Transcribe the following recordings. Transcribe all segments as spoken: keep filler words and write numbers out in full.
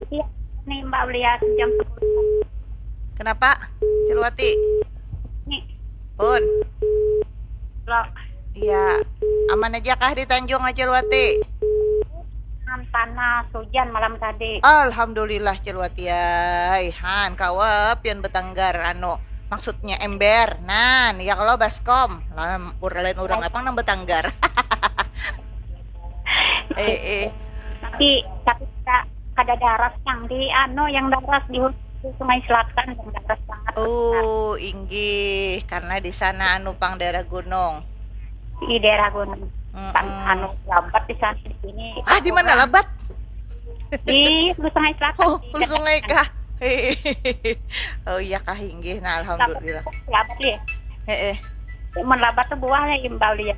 Iya, nih Mbak Ulia jam sepuluh. Kenapa? Cilwati. Nih, Pun. lo Iya. Aman aja kah di Tanjung, Cilwati? Kan panas, hujan malam tadi. Alhamdulillah, Cilwati ai. Han, kawa pian betanggar anu, maksudnya ember. Nan, ya kalau baskom. Lah, ur- lain orang apa nang betanggar. Eh, eh. Tapi tapi kita kada daras yang di anu, yang daras di, di Sungai Selatan, yang daras banget. Oh, inggih, karena di sana anu pang daerah gunung. Di daerah gunung. Mm-mm. Kan anu, lambat di sana, di sini. Ah, di mana labat? Di Hulu Sungai Selatan. Oh, Di Hulu Sungai kah? Oh iya kah, inggih. Nah, alhamdulillah. Labat ya. Heeh. Mun labat tuh buah ya, Mbak Ulia.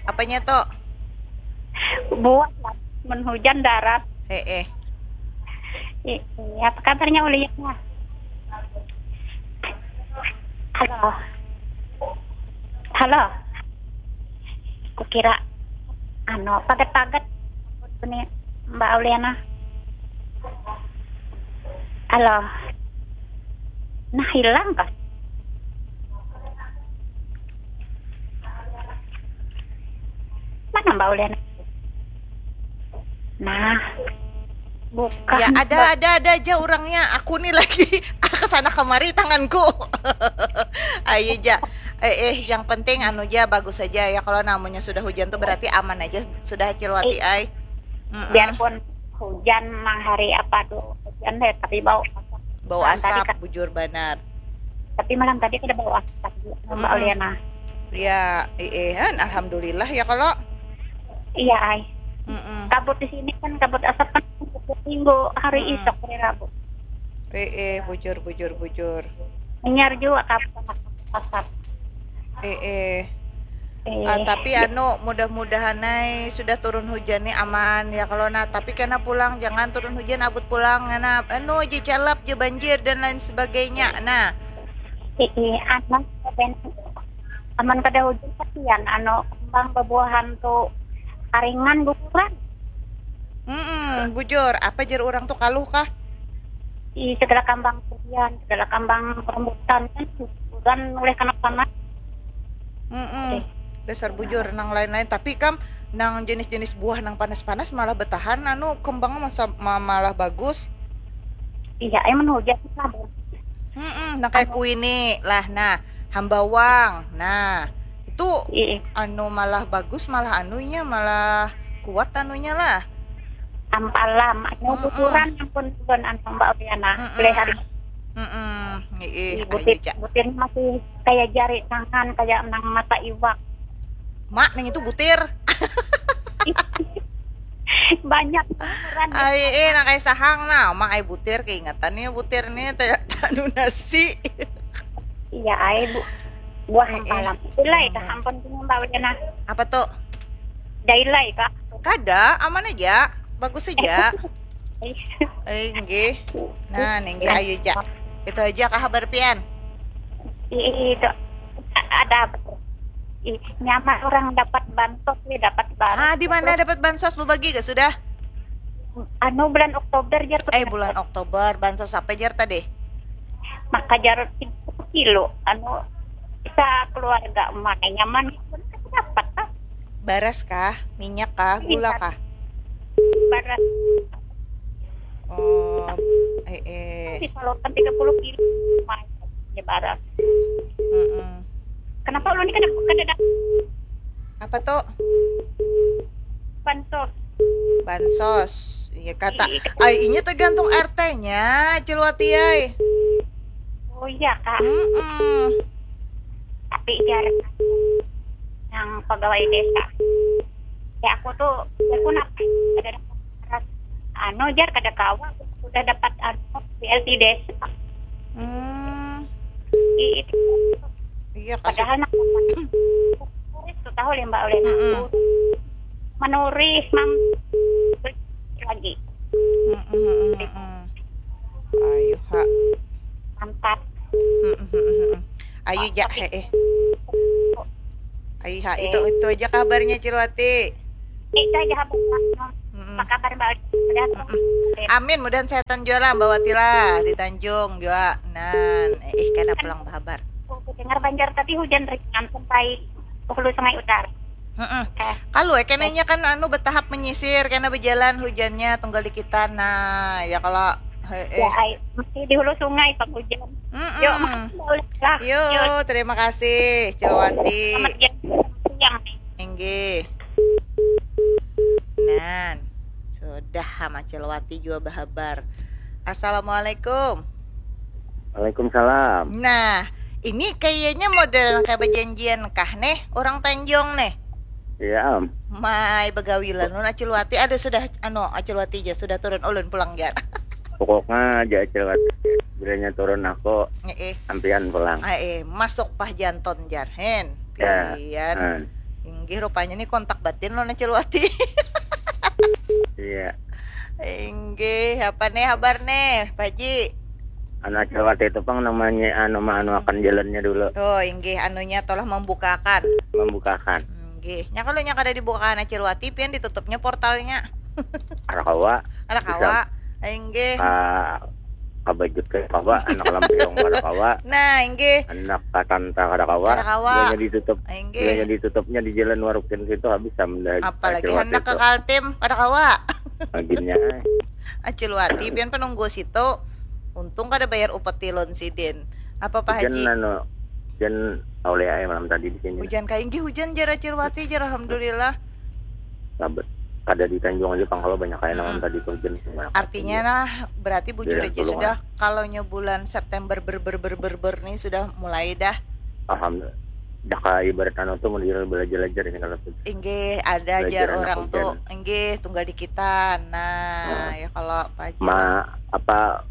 Apanya tuh? Buah lah. Mun hujan daras. Heeh. I- Iya, apa kabarnya Uliana? Halo. Halo. Kukira anu, pagat-pagat ini Mbak Uliana. Halo. Nah, hilang kah? Mana Mbak Uliana? Nah, bukan. Ya, ada ada ada aja orangnya. Aku nih lagi kesana kemari tanganku. Ayo ja. Eh, eh, yang penting anu ja, bagus aja ya. Kalau namanya sudah hujan tuh berarti aman aja. Sudah, Cilwati ai. Mm-mm. Biarpun hujan, nang hari apa tuh hujan deh, tapi bau asap. Bau Malam tadi asap, kan, bujur banar. Tapi malam tadi kada bau asap juga, Mbak Mm-mm. Uliana. Ya, eh, eh, han, alhamdulillah ya kalau. Iya, ai. Mm-mm. Kabut di sini kan, kabut asap kan, kabut minggu hari Mm-mm. Isok, hari Rabu. Eh, eh, bujur, bujur, bujur. Hanyar juga kabut asap. Eh, eh. Eh, Ah, tapi anu, mudah-mudahan ai sudah turun hujan nih aman ya kalau. Nah, tapi kena pulang, jangan turun hujan abut pulang, ngana anu je calap je banjir dan lain sebagainya. Nah, eh, eh, aman, aman kada hujan, kasihan anu, kembang bebuahan tuh karingan, guguran. Mm-mm, bujur, apa jar orang tuh kaluh kah? Di segala kambang durian, segala kambang rambutan kan, guguran oleh kena panas. Mm-mm. Dasar bujur nang lain-lain. Tapi kam, nang jenis-jenis buah nang panas-panas malah betahan, anu, kembangnya masa ma- malah bagus. Iya, emang hujan lah. Mm-mm, nang kayak kuini lah, nah, hambawang, nah, itu Iya, anu malah bagus, malah anunya malah kuat anunya lah. Ampalam, anu, Mm-mm. guguran, ampun, ampun, anu, Mbak Uliana. Mm-mm. Boleh hari. Mm-mm. Ih, Ih, ayo butir, ja. Butir masih kayak jari tangan, kayak nang mata iwak. Mak, nang itu butir. Banyak guguran. Ai, eh, nang kayak sahang nah, mak ai butir, keingetan nih butir nih, tanya tanu nasi. Iya, ai, Bu. Buah Eh, eh. Ampalam. Dailai kah, ampun, gini, Mbak Uliana. Apa tuh? Dailai kah? Kada, aman aja, bagus aja. Eh, nggih. Nah, nih, nggih, ayo ja. Itu aja kah kabar pian? I- Itu ada apa tuh? Ih, nyaman orang dapat bansos, wi, dapat bansos. Ah, di mana dapat bansos, berbagi gak sudah? Anu, bulan Oktober jar. Eh, bulan Oktober, bansos apa jar tadi? Maka jar tiga puluh kilo, anu, bisa keluarga, mana nyaman dapat, ah. Baras kah? Minyak kah? Gula kah? Baras. Oh, eh, eh. Disalurkan tiga puluh kilo, lumayan, ya, baras. Mm-mm. Kenapa ulun ni kada, kada dapat Apa tuh? bansos? Bansos. Iya, kata, Iya. Ai, inya tergantung R T-nya, Cilwati ai. Oh iya, Kak. Mm-mm. Tapi jar yang pegawai desa, ya, aku tuh, ya, aku nak ada dapat anu, jar, kada kawa, sudah dapat anu, B L T desa. Hmm. I- itu Iya, kasih. Padahal nak turis tuh tahu, Mbak, oleh Mm-mm. aku menuris mam lagi. Mm-mm, mm-mm, mm-mm. Ayo, ha. Mantap. Mm-mm, mm-mm, mm-mm. Ayo, ja, he, eh. Ayo, ha, itu, itu aja kabarnya, Cilwati. Itu aja kabarnya. Mm-mm. Apa kabar Mbak Odi? Sudah. Mm-mm. Amin, mudahan sehatan jua lah Mbak Wati lah di Tanjung jua. Nan, eh, eh, kena pulang bahabar. Aku dengar Banjar tadi hujan ringan sampai ke hulu Sungai Utara. Mm-mm. Eh. Kalu, eh, kenanya kan anu bertahap menyisir, kena berjalan hujannya tunggal dikitan. Nah, ya kalau, eh, eh. Ya, ai, mesti di hulu sungai pang hujan. Mm-mm. Yuk, makasih Mbak Uli lah. Yuk, terima kasih, Cilwati. Selamat siang. Inggih. Nan, sudah ha Macilwati jua bahabar. Assalamualaikum. Waalaikumsalam. Nah, ini kayaknya model kayak berjanjian kah nih, orang Tanjung nih? Iya, am. Mai begawilan nun Acilwati. Aduh, sudah, anu, Acilwati aja sudah turun ulun pulang jar. Pokoknya aja Acilwati. Bilanya turun aku, eh, eh, ampian pulang. Eh, eh, masuk Pah Janton jar, hen. Ya. Pian. Hmm. Inggih, rupanya nih kontak batin lo Nacilwati. Iya. Inggih, apa nih habar nih, Pak Haji? Anu Acilwati itu pang namanya anu ma-, anu akan jalannya dulu. Oh, inggih, anunya telah membukakan. Membukakan. Inggih, nya kalau nya kada dibukakan Acilwati, pian ditutupnya portalnya. Kada kawa. Kada kawa. Inggih. Ka-, kabajut kada kawa, anak lampion kada kawa. Nah, inggih. Anak katanta kada kawa. Kada kawa. Bilanya ditutup. Inggih. Bilanya ditutupnya di Jalan Warukin situ habis samdah. Apalagi Acilwati handak ke itu. Kaltim, kada kawa. Aginnya. Acilwati, pian penunggu situ. Untung kada bayar upeti loan sidin. Apa, Pak Haji? Hujan anu, hujan aulia ai malam tadi di sini. Hujan kainggih, hujan jar Acilwati jar, alhamdulillah. Labet. Kada di Tanjung aja pang kalau banyak kayak malam tadi tuh hujan. Artinya nah, berarti bujur aja sudah, kalau nya bulan September ber, ber, ber, ber, ber nih sudah mulai dah. Alhamdulillah. Dah ka ibarat anu tuh model belajar-belajar ini kalau tuh. Inggih, ada jar orang tuh. Inggih, tunggal dikitan. Nah, ya kalau apa aja. Ma, apa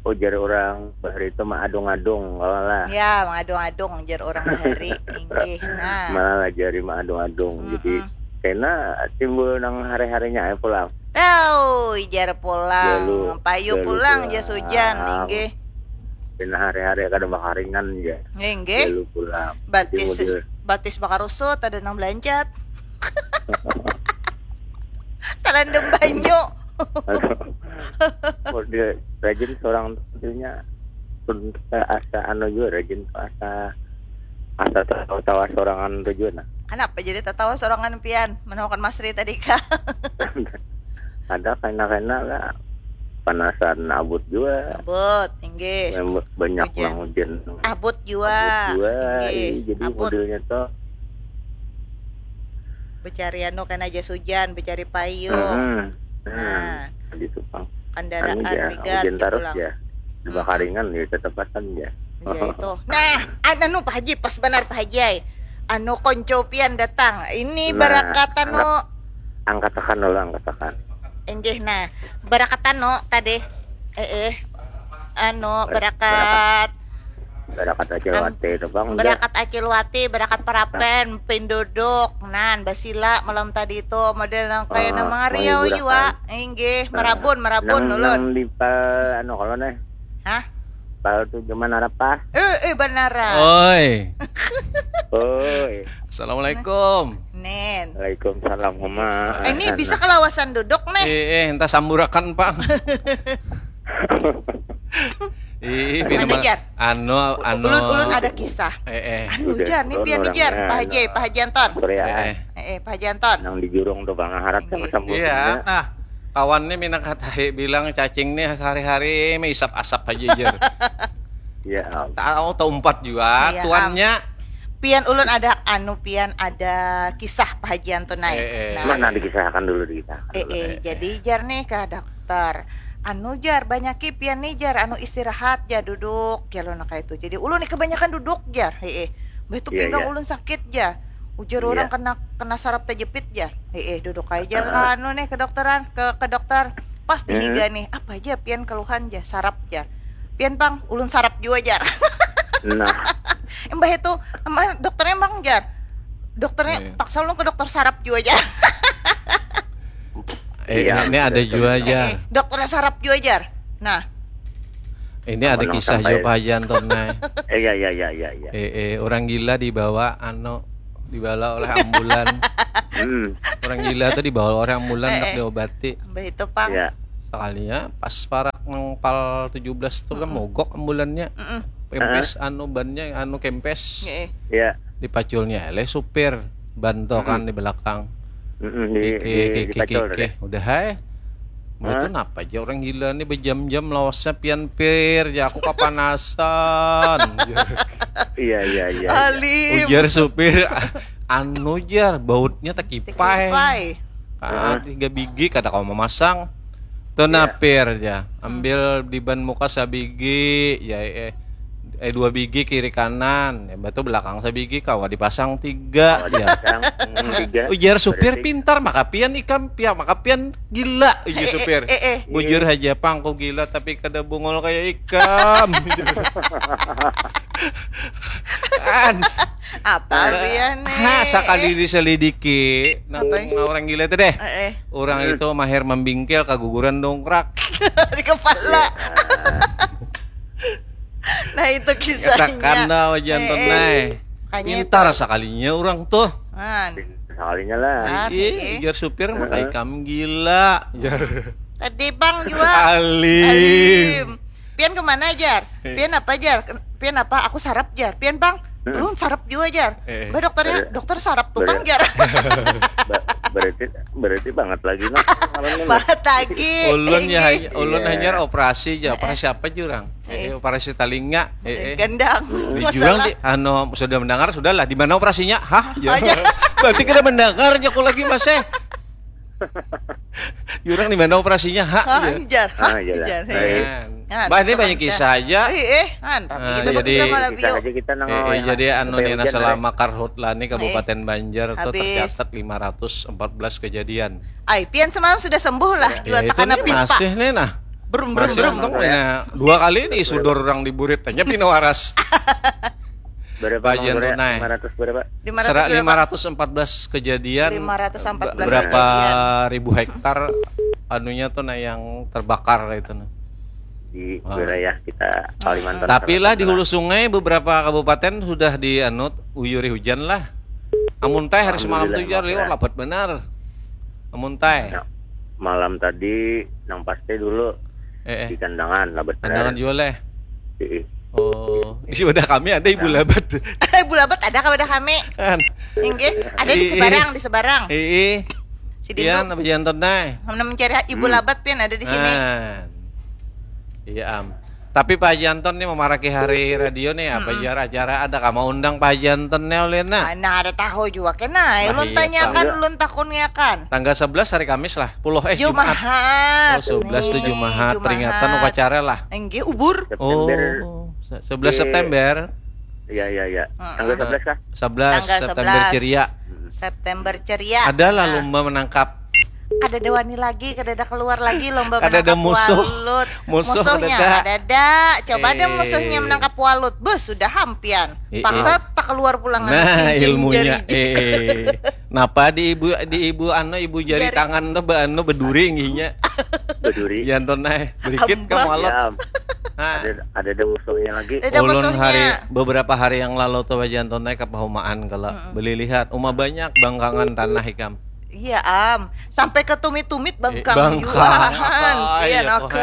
ujar orang bahari itu maadung-adung kalau lah. Ya, maadung-adung ujar orang bahari. Inggih. Nah. Malah jari maadung-adung. Jadi kena timbul nang hari-harinya aja pulang. Tau, jar pulang. Payu pulang jas hujan, inggih. Kena hari-hari kada makaringan ya. Inggih. Lalu pulang. Batis, batis bakarusut, ada nang belanjat. Tarandam banyu. Rajin seorang tentunya asa anu juga rajin asa asa tawa-tawa sorangan tu jua nah. Kenapa jadi tatawa sorangan pian? Menemukan Masri tadi kah? Ada kena-kena lah. Panasan abut jua. Abut, inggih. Banyak nang hujan. Abut jua. Abut jua. Inggih. Jadi abut. Modelnya tuh. Becari anu kena jas hujan, becari payung. Hmm. Nah. Di Supang. Kendaraan anu, rigat hujan terus pulang. Ya. Dibakaringan ya, tetap pasang ya. Ya itu. Nah, anu Pak Haji, pas benar Pak Haji ai. Anu konco pian datang. Ini nah, barakat anu. Angkat, angkat akan dulu, angkat akan. Inggih, nah. Barakat anu tadi. Eh, eh. Anu, barakat. Barakat Acil Wati itu bang. Barakat Acil Wati, barakat Parapen, pinduduk, nan basila malam tadi itu model nang kayak nama ngariau jua. Inggih, merabun, merabun ulun. Nang di pal anu kalau nih. Hah? Pal tu zaman apa? Eh, eh, banara. Oi. Oi. Assalamualaikum. Nen. Waalaikumsalam, Mama. Eh, ini bisa kelawasan duduk nih. Eh, eh, entah samburakan, Pak. Ih, anu, anu, ulun, ulun ada kisah. Eh, eh. Anu jar, nih pian nih jar, Pak Haji, Pak Haji Anton. Eh, eh. Eh, eh, Pak Haji Anton. Nang di jurung tuh Bang, harap sama sambut. Iya. Nah, kawan nih minang katahi bilang cacing nih sehari-hari maisap asap aja jar. Iya. Tahu taumpat juga tuannya. Pian ulun ada anu pian ada kisah Pak Haji Anton naik. Eh, eh. Nah. Mana dikisahkan dulu dikisahkan. Eh, eh, jadi jar nih ke dokter. Anu jar, banyaki pian nih jar, anu istirahat jar, duduk jar, ulun kayak itu. Jadi ulun nih kebanyakan duduk jar, heeh. Bah itu pinggang ulun sakit jar. Ujar orang kena kena sarap terjepit jar, heeh, duduk aja jar. Anu nih kedokteran, ke ke dokter. Pas dihiga nih, apa aja pian keluhan jar, sarap jar. Pian pang, ulun sarap jua jar. Nah. Mbah itu, emang dokternya emang jar. Dokternya paksa ulun ke dokter sarap jua jar. Eh, ini ada jua jar. Eh, dokternya sarap jua jar. Nah. Ini ada kisah jua Pak Haji Anton, nah. Iya, iya, iya, iya, iya. Eh, eh, orang gila dibawa anu dibala oleh ambulan. Hmm. Orang gila tuh dibawa oleh ambulan, nak Eh. diobati. Mbah itu pang. Ya. Sekalinya pas parak nang pal tujuh belas tuh kan Mm-mm. mogok ambulannya. Mm-mm. Kempes anu bannya anu kempes. Nggih. Ya. Dipaculnya oleh supir ban tuh kan di belakang. Mm-mm, di, di, Kiki dipacul kiki tadi. Udah hai. Mbah Hah? Tuh napa aja orang gila nih berjam-jam lawasnya pian pir ya aku kapanasan. Iya, iya, iya. Alim. Ujar supir anu jar bautnya tekipai. Tekipai. Ah, tiga bigi kada kau memasang. Tuh nah pir ya. Ambil di ban muka sabigi ya eh, eh dua bigi kiri kanan. Ya batu belakang sabigi kawa dipasang tiga ya. Yang hmm, tiga. Ujar supir Berarti pintar maka pian ikam pia maka pian gila ujar Eh, eh, supir. eh, eh. Bujur aja pang aku gila tapi kada bungul kayak ikam. An. Apa biar nih? Ha, sekali diselidiki, nah, Apa? Nah, orang gila itu deh. Eh, eh. Orang itu mahir membingkil kaguguran dongkrak. Di kepala. Nah itu kisahnya. Katakan dah wajan Eh, tuh eh. nah. Makanya Pintar sekalinya orang tuh. Man. Sekalinya lah. Ah, Iya, eh. Ujar supir maka ikam gila. Ujar. Tadi bang juga. Alim. Alim. Pian kemana jar? Pian apa jar? Pian apa? Aku sarap jar. Pian bang, belum sarap juga jar. Eh. Mbak dokternya, dokter sarap tukang jar. Ba- berarti berarti banget lagi nah. Malamnya, Mbak. Banget lagi. Ulun ya Ini. hanya ulun Iya. hanya operasi aja. Operasi apa jurang? Eh, operasi telinga. Eh, eh. Gendang. Di jurang di anu sudah mendengar sudahlah di mana operasinya? Hah? Ya. Aja. Berarti kita mendengar aku lagi Mas eh. Jurang di mana operasinya? Hah? Hah, Ya. jar. Hah, Ah, iyalah. jar. Baik. Nah, Bah, ini itu banyak bisa. Kisah aja. Eh, eh, han. Ah, Kita jadi bisa malah Bisa bio. aja kita nang Eh, eh, jadi anu supaya nih nah hujan, selama karhutla nih Kabupaten Banjar tuh Habis. Tercatat lima ratus empat belas kejadian. Ai, pian semalam sudah sembuh lah. Juga Ya, itu tekan nih habis pak. Masih nih nah. Brum brum Masih brum. Untung nih nah. Dua kali nih sudor orang di burit hanya pina waras. Berapa Bagian Mang Surya? tunai. Lima ratus berapa? Lima ratus Serak berapa? Lima ratus empat belas kejadian. Lima ratus empat belas Berapa kejadian. Ribu hektar anunya tuh nah yang terbakar itu nah. Di wilayah kita Kalimantan. Tapi lah Selatan di hulu sungai beberapa kabupaten sudah di anu uyuri hujan lah. Amun teh hari semalam tuh Alhamdulillah, jar liwar Alhamdulillah. Lapat benar. Amun teh. Ya, malam tadi nang pasti dulu Eh, eh. Di Kandangan lah benar. Kandangan juga leh. Heeh. Oh, di wadah kami ada ibu labat. Ibu labat ada kawadah kami. Kan. Inggih, ada di Ih, sebarang, di sebarang. Ih, Si Dindu. Iya, apa jantan teh? Kamu mencari ibu labat pian ada di sini. Nah. Iya am. Tapi Pak Janton nih memaraki hari radio nih apa jar acara ada kamu undang Pak Janton nih oleh nah. Mana ada tahu juga kena. Nah, Ulun iya, tanyakan, tahu. Ulun takunakan. Tanggal sebelas hari Kamis lah. Puluh eh Jumat. Jumahat. Oh, sebelas tuh Nih, Jumahat peringatan upacara lah. Enggih ubur. Oh, September. se- sebelas September. Iya iya iya. Heeh. Tanggal sebelas kah? Sebelas Tanggal September sebelas. ceria. September ceria. Adalah Nah, lomba menangkap. Kada ada wani lagi, kada ada keluar lagi lomba Kada ada menangkap musuh. Walut. Musuh Musuhnya kada ada. Kada ada. Coba ada Eh. Musuhnya menangkap walut. Bus sudah hampian. Eh, Paksa eh. tak keluar pulang Nah, cincin ilmunya. Jari. Eh. Napa di ibu di ibu anu ibu jari, Jari. Tangan tuh be- anu beduri nginya. Beduri. Janton eh. Berikit Ambah. kamu alot. Ya, am. Hah? Ada ada ada musuhnya lagi. Ada Ulun musuhnya. Hari beberapa hari yang lalu tuh Janton eh ke pahumaan kalau beli lihat uma banyak bangkangan tanah ikam. Iya am, sampai ke tumit-tumit bangkang Eh, bangkang. Juahan. Apa, Iya iya, oke.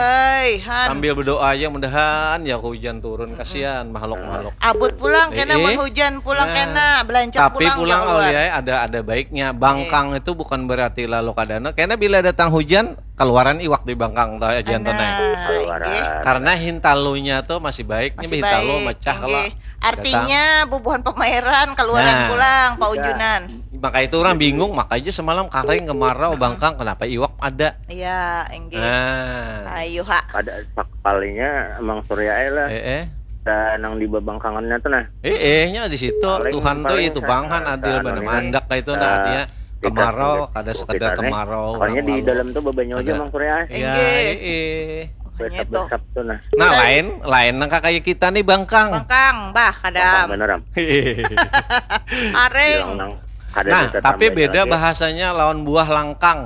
Han. Sambil berdoa aja mudahan ya hujan turun kasihan makhluk-makhluk. Abut pulang kena Eh, eh. Mun hujan pulang Nah, kena belanja tapi pulang, pulang keluar. Ya ada ada baiknya. Bangkang itu bukan berarti lalu kadana. Karena bila datang hujan keluaran iwak di bangkang tuh Janton eh. Nah, Keluaran. inggih. Karena hintalunya tuh masih baik, Masih ini hintalu baik, mecah inggih. lah. Artinya bubuhan pameran keluaran Nah. pulang Pak Ujunan. Maka itu orang bingung, makanya semalam kareng kemarau bangkang kenapa iwak ada. Iya, inggih. Nah. Ayo ha. Ada sakalinya emang Surya aja lah. Eh eh. Kita nang di babangkangannya tuh nah. Eh eh nya di situ Paling- Tuhan tuh paling itu bangkan adil anu mana nih, mandak itu eh, nah artinya kita kemarau tuh kada kita sekedar nih. Kemarau Pokoknya orang di lalu. Dalam tuh babanya aja Ada. emang Surya. Iya, Enggak. eh. Makanya tuh. Besap-besap tuh nah. Nah, Saya- lain lain nang kayak kita nih bangkang. Bangkang, bah, kadam. Bener am. Areng. Bilang nang ada Nah, data tapi tambahnya beda lagi. Bahasanya lawan buah langkang.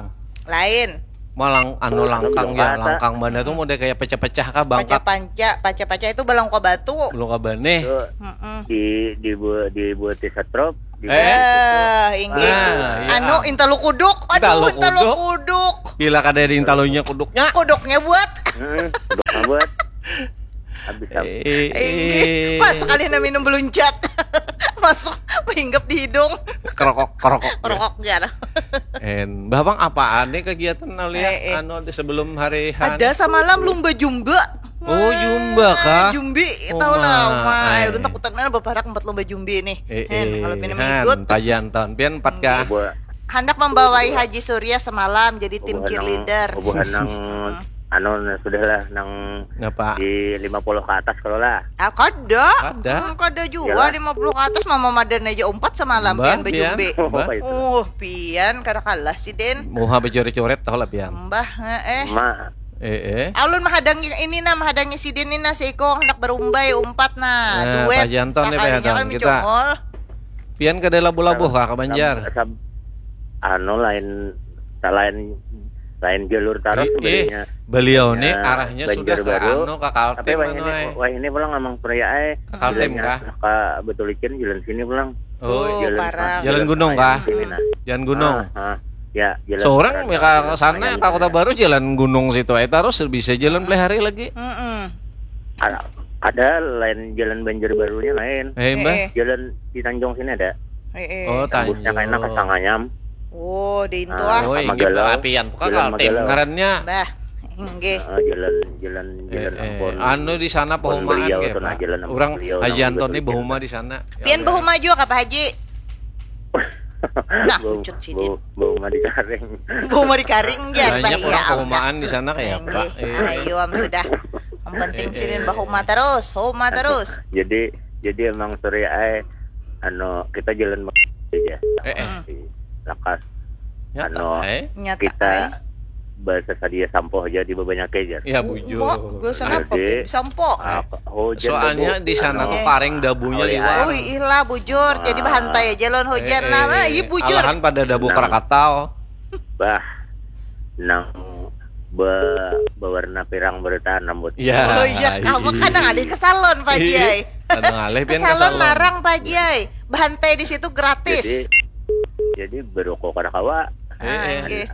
Lain. Malang anu Anu langkang belum ya, kata. Langkang mana tuh model kayak pecah-pecah kah bangkang. Paca-panca, paca-paca itu balong kau batu. Belum kabar nih. Tuh, Mm-mm. di di bu di buat setrop Eh, inggih. Nah, iya. Anu, intalu kuduk. Aduh, intalu kuduk. Bila kada ada intalunya kuduknya. Kuduknya buat. Hmm, kuduknya buat. Habis apa? Eh, inggih. Pas sekali na minum beluncat. Masuk, hinggap di hidung. Kerokok, kerokok. Rokok jar. En, Bah Bang, apaan nih kegiatan nah lihat, eh, eh, anu, di sebelum hari Han? Ada samalam lumba jumba. Oh, jumba kah? Jumbi, tahu lah, Uma. Ai, ulun takutan mana baparak empat lumba jumbi nih. Eh, hen, eh, kalau pina han, mengikut. Pajantan, pian empat kah? Bubuhan. Handak membawai Haji Surya semalam jadi tim cheerleader. Bubuhan nang, anu, nah, sudahlah, nang di lima puluh ke atas kalau lah. Ah, kada. Kada. Hmm, kada jua. Iyalah. Lima puluh ke atas, mama madan aja umpat semalam, pian bajumbi. Mbah, pian. Mbah. Uh, pian, kada kalah si Den. Muha bacoret-coret tahu lah, pian. Mbah, heeh. Ma, eh, eh. Alun mahadangi ini nah, mahadangi sidin ni nah, seiko handak barumbai umpat nah. Nah, duet. Pajantan nih, sakalinya pajantan. Kan kita mencongol. Pian kada labuh-labuh kah ka Banjar? Sab-, sab-, anu, lain, lain, lain jalur tarus. Eh, eh, sebenarnya. Beliau nih arahnya sudah ke anu, ke Kaltim, tapi wah ini, anu, eh. Wah ini pulang amang Surya ai. Ke Kaltim kah? Ka Batulicin jalan sini pulang. Oh, jalan parah. Jalan gunung kah? Sini nah. Jalan gunung. Ah, ah. Ya, jalan. Seorang ya ke sana, ke Kota Baru, jalan gunung situ aja terus, bisa jalan Pelihari lagi. Mm-mm. Ada, ada lain jalan Banjarbarunya lain. Eh, Mbah. Eh, eh. Jalan di Tanjung sini ada. Eh, eh. Oh, Tembusnya Tanjung. Kena ke Sangayam. Oh, di itu ah. Oh, inggih, Magelang. Apian, bukan jalan Kaltim Magelang. Ngarannya. Bah, inggih. Heeh, jalan, jalan, eh, jalan eh. Ampun. Anu di sana Ampun Pehumaan beliau tuh, nah, jalan Ampun beliau. Urang Haji Antoni bahuma di sana. Pian bahuma jua kah, Pak Haji? Nah, bau, pucut sidin. Bau, bau madi karing. Bau madi karing, jar, banyak bah, orang iya, pehumaan di sana kayak apa? Iya. Ayo, am, sudah. Yang penting sidin bahuma terus, huma terus. Jadi, jadi emang Surya ai, anu, kita jalan aja. Eh, eh. Lakas. Nyata, anu, eh? Nyata, kita eh? Bahasa sadia sampoh aja di babanyake aja. Ya, bujur. Bahasa napa, Pip? Sampoh. Ah, hujan. Soalnya dabu, di sana anu, tuh karing dabunya liwar. Ui, ilah, bujur. Jadi bahantai aja lawan hujan lah. Eh, eh. Ah, iya, bujur. Alahan pada dabu Krakatau. Bah, nang be-, bewarna pirang beritaan rambut. Ya, oh iya, kamu kan nang alih ke salon, Pak Jai. Nang alih pian ke salon. Ke salon larang, Pak Jai. Bahantai di situ gratis. Jadi, jadi beruku kada kawa. Ah, eh, eh.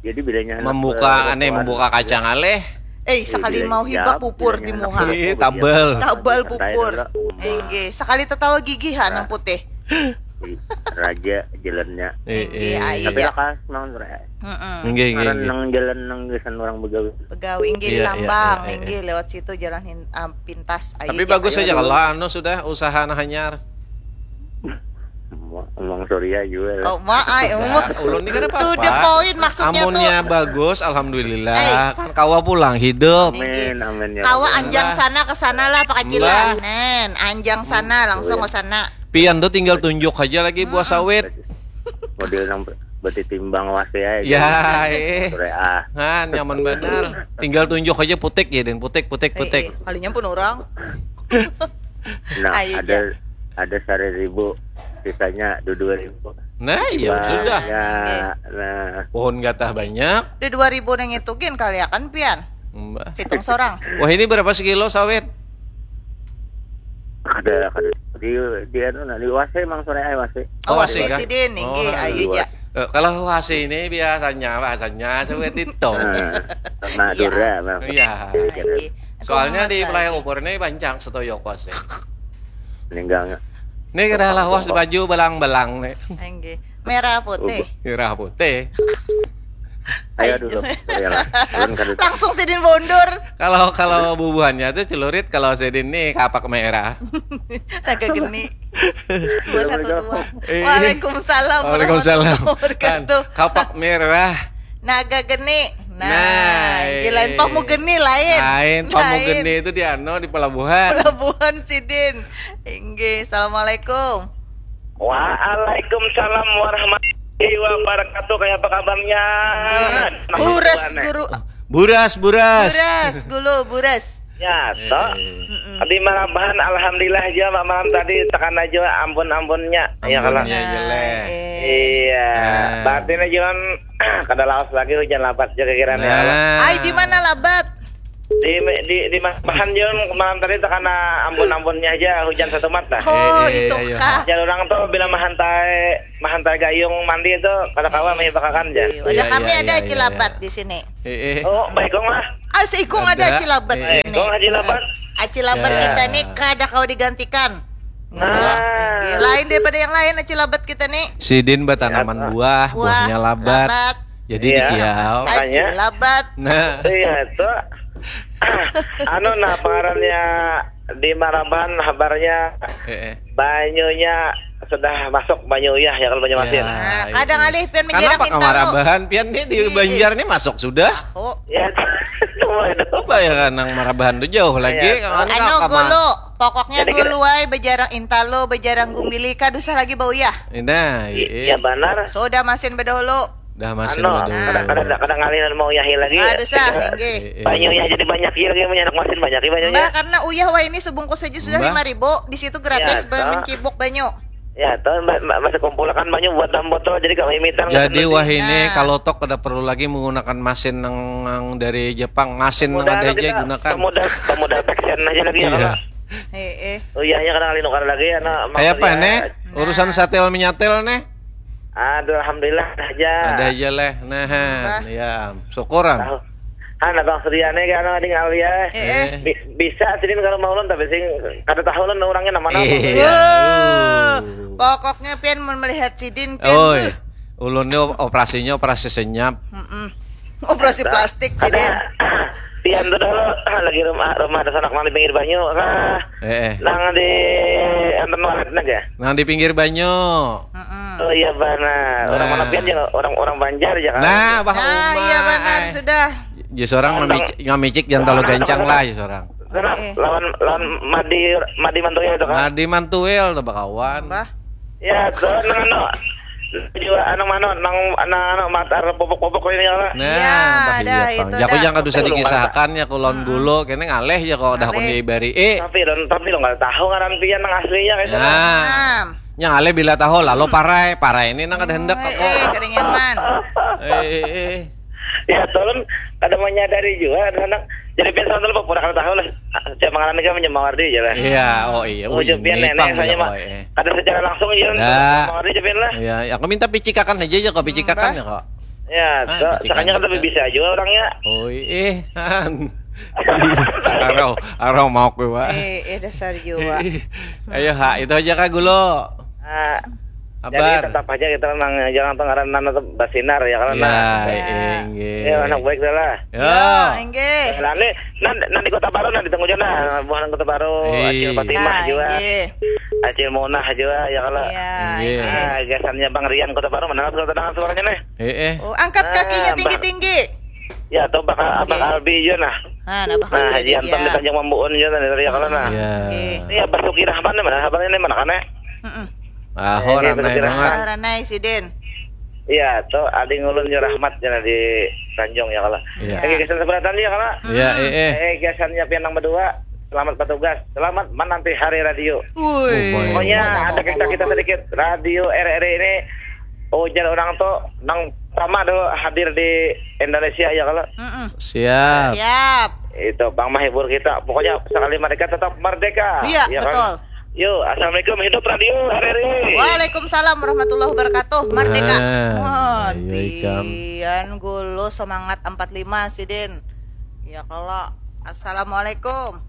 Jadi bilanya membuka, aneh, membuka kacang aleh. Eh, sekali mau hibak pupur di muha. Ih, tabal. Tabal pupur. Inggih, sekali tetawa gigi ha nang putih. Raja jalannya. Eh, eh. Tapi lakas mang. Heeh. Inggih, inggih, inggih. Nang jalan nang gasan orang begawi. Begawi, inggih, iya, iya, tambang, iya, iya. Inggih, lewat situ jalan hin-, ah, pintas. Ayo, tapi bagus aja kalau anu sudah usaha nah hanyar. Emang Surya juga lah. Oh, ma ai, emang. Ulun ni kada apa-apa. To the point maksudnya tuh. Amunnya bagus, alhamdulillah. Kan kawa pulang hidup. Amin, amin, ya Rabbal. Kawa anjang sana ke sana lah, Pak Kacilan. Nen, anjang sana, langsung ke sana. Pian tuh tinggal tunjuk aja lagi buah sawit. Model nang berarti timbang wasi aja. Ya, eh. Surya, ah. Nah, nyaman benar. Tinggal tunjuk aja putik ya, Den. Putik, putik, putik. Eh, eh, kalinya pun orang. Nah, ayo, ada, ada sari ribu, sisanya dua dua ribu. Nah, iya, sudah. Ya, nah. Pohon gatah banyak. Di dua ribu nang itu gin kaliakan pian. Mbah. Hitung sorang. Wah, ini berapa sekilo sawit? Kada, kada. Di, di anu, nah, di wasi mang sore ai wasi. Oh, wasi kah? Sidin, inggih, ayo ja. Eh, kalau wasi ini biasanya, bahasanya sawit itu. Nah, Madura, mang. Iya. Iya, iya. Soalnya di flyover ini banyak setoyok wasi. Ninggang. Ini kada lawas baju belang-belang nih. Inggih. Merah putih. Merah putih. Ayo dulu. Ayolah. Langsung sidin mundur. Kalau, kalau bubuhannya tuh celurit, kalau sidin nih kapak merah. Naga geni. Dua satu dua. Eh. Waalaikumsalam warahmatullahi wabarakatuh. Kan, kapak merah. Naga geni. Nah, nah, lain pamu geni lain. Lain, pamu geni itu di anu, di pelabuhan. Pelabuhan sidin. Inggih, assalamualaikum. Waalaikumsalam warahmatullahi wabarakatuh. Kayak apa kabarnya? Buras, Guru. Buras, buras. Buras, Guru, buras. Ya, toh. Mm-mm. Tadi malabahan, alhamdulillah aja, Pak, malam tadi tekan aja, ampun-ampunnya. Ya, kalau. Ampunnya aja, leh. Iya. Nah. Batin aja kan, kada lawas lagi, hujan labat aja kira-kira nih, ya, Allah. Nah. Ai, di mana labat? Di di di Mahan Jun, malam tadi terkena ambun-ambunnya aja, hujan satu mata. Oh, eh, eh, itu ayo. Kah? Jar orang tuh bila mahantai mahantai gayung mandi itu kada kawa mah bakakan aja. Iya, iya, kami iya, ada iya, cilabat iya. Di sini. Eh, eh. Oh, baik kong lah. Ah, seikung ada, ada cilabat eh, sini. Kong aja cilabat. Ah, cilabat ya. Kita nih kada kau digantikan. Nah. Iya, lain daripada yang lain aja labat kita nih. Sidin batanaman ya, buah, buahnya labat. Labat. Jadi iya, dikiau. Aja labat. Nah. Iya, itu. Anu nah pengarannya di Maraban habarnya eh, eh. Banyunya sudah masuk banyu uyah ya kalau banyu masin. Ya, nah, kadang alih pian menjerang intalo. Kenapa kamarabahan pian nih di Banjar nih masuk sudah? Oh. Ya, coba ya kan nang marabahan tuh jauh lagi. Ya. Anu gulu, pokoknya gulu ay bejarang intalo, bejarang gumbili kada usah lagi bauyah. Nah, iya. Iya benar. Sudah masin bedahulu. Dah masin anu, bedahulu. Kada kada kada ngalih mau yahi lagi. Aduh sah, inggih. Iya, iya. Banyu ya jadi banyak ya lagi, banyak masin banyak ya banyu. Mbah, karena uyah wah ini sebungkus saja sudah lima ribu, di situ gratis ya, mencibuk banyu. Ya, tuh masih kumpulakan banyu buat dalam botol jadi kalau imitan. Jadi wah ini nah. Kalau tok kada perlu lagi menggunakan masin yang, yang dari Jepang, masin yang ada aja gunakan. Pemuda pemuda aja lagi ya. Iya. Heeh. Oh iya, ya kadang nukar lagi ya. Kayak apa nih? Urusan nah. Satel menyatel nih. Aduh, alhamdulillah ada aja. Ada aja leh. Nah, ya, syukuran. Tahu. Han, Abang Suryane kan ada tinggal ya. Eh, eh. Bi- bisa sidin kalau mau ulun tapi sing kada tahu ulun orangnya nama apa. Iya. Pokoknya pian melihat sidin pian. Oh, ulun ni operasinya operasi senyap. Mm -mm. Operasi plastik sih deh. Pian tuh dulu lagi rumah rumah ada sanak nang di pinggir banyu kah? Eh, eh. Nang di enten walet naga. Nang di pinggir banyu. Mm -mm. Oh iya benar. Nah. Orang mana pian ya orang orang Banjar ya kan. Nah, bah nah, iya benar sudah. Jadi seorang mamicik, mamicik jangan terlalu gancang lah ya seorang. Nah, eh. Lawan lawan Madi Madi Mantuil itu kan. Madi Mantuil tuh bakawan. Bah. Ya, tuh nang anu juga anu mano nang nang anu matar pupuk-pupuk ini ya. Nah, ya, dah, iya, itu jaku dah. Jangan kada usah dikisahakan ya kulon hmm. Gulo kene ngaleh ya kok dah kun ibari. Eh. Tapi don tapi lo nggak tahu ngaran pian nang aslinya kayak nah. Nah. Yang aleh bila tahu lalu parai, parai ini nang kada hendak eh, eh, kada nyaman. Eh, eh, eh. Ya, tolong kada menyadari juga anak. Jadi pian sama telepon pura kada tahu lah. Saya mengalami kan menyemawar dia lah. Iya, oh iya. Oh, jadi pian nenek saya mah. Kada secara langsung ya. Nah. Mengalami pian lah. Iya, aku minta picikakan aja ya kok picikakan ya kok. Ya, ah, sakanya kan lebih bisa juga orangnya. Oh iya. Arau, arau mau kue. Eh, eh dasar juga. Ayo ha, itu aja kak gulo. Ah, Abar. Jadi tetap aja kita memang jangan pengaran nana tuh basinar ya kalau ya, nah. Iya, enggak. Ya, anak baik dah lah. Ya, enggak. Nah, ini nanti, nanti kota baru nanti tunggu aja nah, bukan kota baru, iya. Acil Fatimah nah, juga. Iya. Acil Monah juga ya kalau. Iya. Nah, gasannya Bang Rian kota baru mana kota dengan suaranya nih. Eh, eh. Oh, angkat nah, kakinya tinggi-tinggi. Ya, atau bakal okay. Abang Albi juga nah. Nah, nah, nah Haji Anton di Tanjung Mambuun juga nah, dari kalau nah. Iya. Iya, Basuki Rahman mana abangnya nih mana kan ya? Heeh. Ah, oh, ranai banget. Oh, ranai sidin. Iya, tuh adi ngulun yo rahmat jana di Tanjung ya kala. Iya. Lagi kesan seberatan ya kala. Iya, eh eh. Eh, kesannya pian nang berdua. Selamat bertugas. Selamat menanti hari radio. Wih. Pokoknya ada kita kita sedikit radio R R I ini ujar orang tuh nang pertama dulu hadir di Indonesia ya kala. Mm -mm. Siap. Siap. Itu bang menghibur kita. Pokoknya sekali merdeka tetap merdeka. Iya, ya, betul. Kan? Yo, assalamualaikum hidup radio R R I. Waalaikumsalam warahmatullahi wabarakatuh. Merdeka. Ah, mohon pian gulu semangat empat lima sidin. Ya kalau assalamualaikum.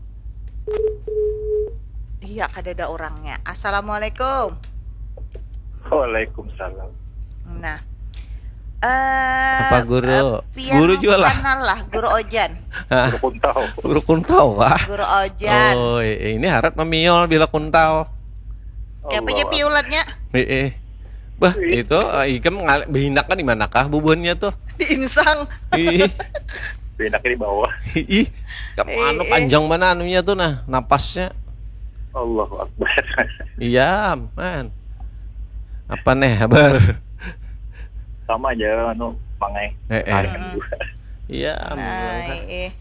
Iya kada ada orangnya. Assalamualaikum. Waalaikumsalam. Nah. Uh, apa guru? Uh, guru juga lah. Lah, guru Ojan. Guru Kuntau. Guru Kuntau, wah. Guru Ojan. Oh, ini harat memiol bila Kuntau. Kayak apa aja piulatnya? Eh, eh. Bah, itu uh, ikam behinaknya di manakah bubuhannya tuh? Di insang. Ih. Behinaknya di bawah. Ih, kamu eh, anu eh. Panjang mana anunya tuh nah, napasnya. Allahu Akbar. Iya, man. Apa nih, habar? Sama aja anu, mangai. Eh, eh. Iya, nah, eh.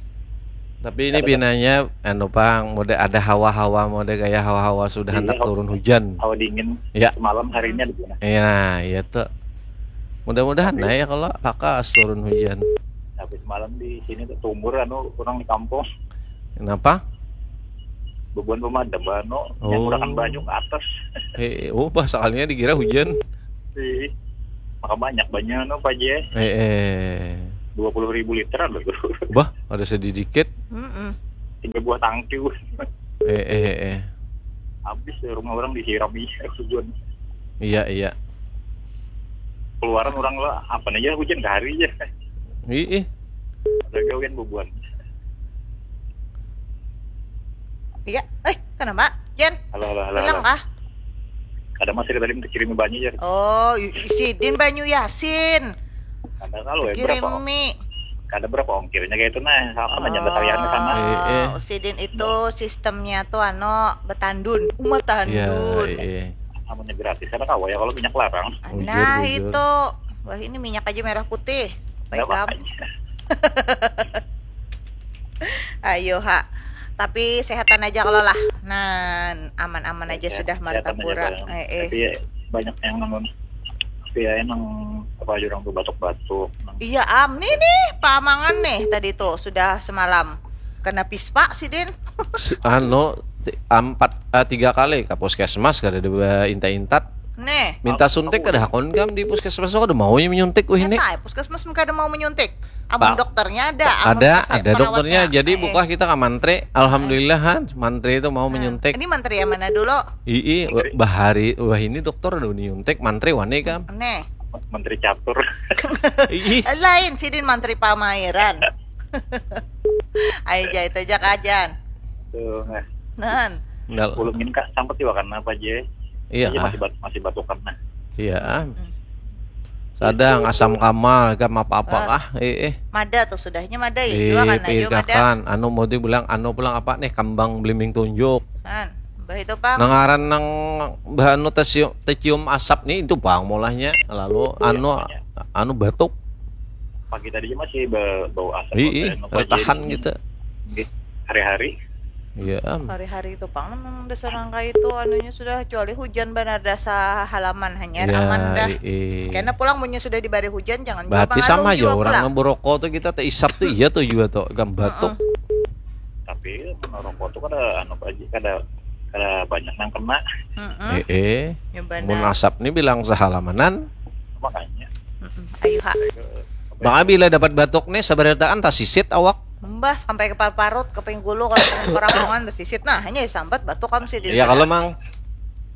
Tapi ini pinanya anu pang, mode ada hawa-hawa mode kayak hawa-hawa sudah hendak turun hujan. Hawa dingin. Ya. Malam harinya di sana. Iya, iya tuh. Mudah-mudahan nah ya kalau lakas turun hujan. Semalam di sini tuh tumbur anu orang di kampung. Kenapa? Bebuan pemadam anu yang Oh. Gunakan banyu ke atas. Eh, oh, bah, sekalinya dikira hujan. Ih, maka banyak banyak anu Pak Ji. Eh, eh. Dua puluh ribu liter ada tuh. Bah, ada sedikit. Mm-mm. Tiga buah tangki. Eh, eh, eh, eh. Habis ya rumah orang disiram iya hujan. Iya, iya. Keluaran orang lah apa aja hujan ke hari aja. Ih, ih. Ada gawian bebuan. Iya. Eh, kenapa? Jen, Halo halo halo. hilang halo. Kah? Ada masih tadi minta kirim banyu ya. Oh, y- sidin banyu Yasin. Ada kalau ya berapa? Kirimi. Ada berapa ongkirnya kayak itu nah. Apa nanya Oh, kalian ke sana? Eh, eh. Sidin itu sistemnya tuh ano betandun, umat Iya, tandun. eh, eh. Namanya gratis ada kawa ya kalau minyak larang. Bujur, Nah, bujur. Itu. Wah, ini minyak aja merah putih. Baik Nggak kam. Apa-apa. Ayo ha. Tapi sehatan aja kalau lah. Nah, aman-aman aja Sehat- sudah sehatan aja, Martapura. Bang. Eh, eh. Tapi ya, banyak yang namun tapi ya emang apa aja orang tuh batuk-batuk. Iya am, nih nih pamangan nih tadi tuh sudah semalam kena pispa sidin. Si- anu ti- empat eh, tiga kali ke puskesmas kada ada inta-intat. Nih. Minta suntik kada hakon kam di puskesmas kada mau yang menyuntik wah ini. Nyata, puskesmas kada mau menyuntik. Amun Pak, dokternya ada, amun Ada, pes- ada dokternya. perawatnya. Jadi Eh, eh. Buka kita ke mantri. Alhamdulillah han, mantri itu mau menyuntik. Ini mantri yang mana dulu? Ii, wah, bahari wah ini dokter udah menyuntik, mantri wani kam. Nih. Menteri catur. Ih, Lain sidin mantri pamairan. Ayo jahit aja kajan. Tuh, nah. Nan. Nal- Belum minta sampai tiba kan apa aja. Iya Iya, kah? Masih bat, masih batukan nah. Iya. Sadang asam kamal kam apa-apa Ah. kah? Eh, eh. Mada tuh sudahnya mada ya. Di Dua kan aja mada. Pirgakan, anu mau dibilang anu pulang apa nih kembang belimbing tunjuk. Kan. Bah itu pang. Nah ngaran nang bah anu tecium, tecium asap nih itu pang mulahnya. Lalu anu anu batuk. Pagi tadi masih ba- bau asap. Ih, ih, Apa aja retahan ini. Gitu. Nggih. Hari-hari. Iya am. Hari-hari itu pang memang dasar nang kayak itu anunya sudah kecuali hujan benar dasar halaman hanyar Ya, aman dah. Ii. Karena pulang punya sudah dibari hujan jangan Berarti juga sama mangalung aja juga orang pulang. Ngeberokok tuh kita teh isap tuh iya tuh juga tuh gam batuk. Tapi merokok tuh kada anu aja kada kada banyak nang kena. Mm-mm. Eh, eh. Ya benar. Mun asap nih bilang sehalamanan. Makanya. Mm-mm. Ayo ha. Bang Abi lah dapat batuk nih sabarataan tas sisit awak. Mbah sampai ke parut ke pinggulu kalau ke rampungan tersisit nah hanya sambat batuk kam sih di Iya kalau mang.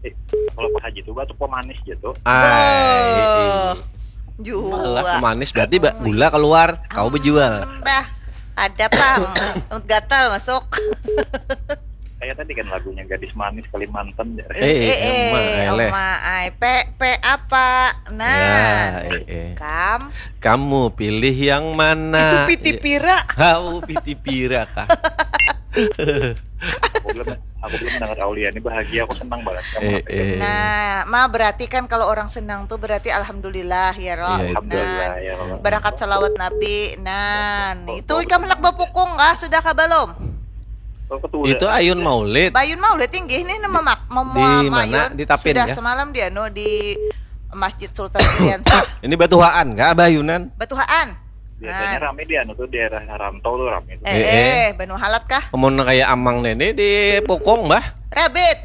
Eh, kalau Pak Haji tuh batuk pemanis gitu. Ai. Jual. Malah pemanis berarti ba- gula keluar kau berjual. Mbah ada pang. Rambut gatal masuk. Kayak tadi kan lagunya Gadis Manis Kalimantan ya. Eh, eh, Oma, eleh. Oma ai pe pe apa? Nah, Ya, eh, eh. Kam Kamu pilih yang mana? Itu piti pira. Hau piti pira kah? Aku belum aku belum mendengar Aulia ini bahagia aku senang banget sama Eh, apa eh. Nah, ma berarti kan kalau orang senang tuh berarti alhamdulillah ya roh. Iya, itu. Alhamdulillah Nah, ya Allah. Barakat salawat Nabi. Nah, itu ikam hendak bapukung kah sudah kah belum? Oh, ketua. Itu ayun maulid. Bayun maulid tinggi nih nama mak mau Di mana? Di Tapin, sudah ya? Semalam di anu di Masjid Sultan Iriansyah. Ini batuhaan kah bayunan? Batuhaan. Biasanya Nah. Rame di anu tuh daerah Rantau tuh rame tuh. Eh, Eh, eh, eh. Banu Halat kah? Amun kayak amang nene di pukung bah. Rabbit.